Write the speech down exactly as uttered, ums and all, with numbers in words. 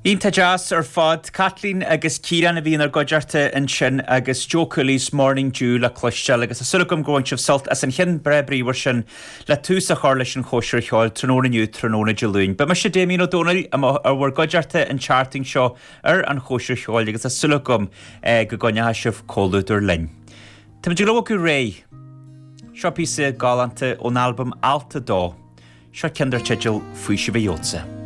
Iontach deas ar fad Caitlín agus Ciarán a bhí inár gcuideachta ansin agus Joe Cooley's Morning Dew le cloisteáil agus tá súil agam go bhain sibh sult as an cheann breá bríomhar sin le tús a chur leis an chóisir cheoil tráthnóna inniu tráthnóna Dé Luain. Ba mise Damien Ó Dónaill ar bhur gcuideachta an tseachtain seo ar an chóisir cheoil agus tá súil agam eh, go gcoinneoidh sibh comhluadar linn. Táimid ag bogadh ar aghaidh. Seo píosa galánta ón albam Alt a Dó. Seo ceann dar teideal Faoiseamh a Gheobhadsa.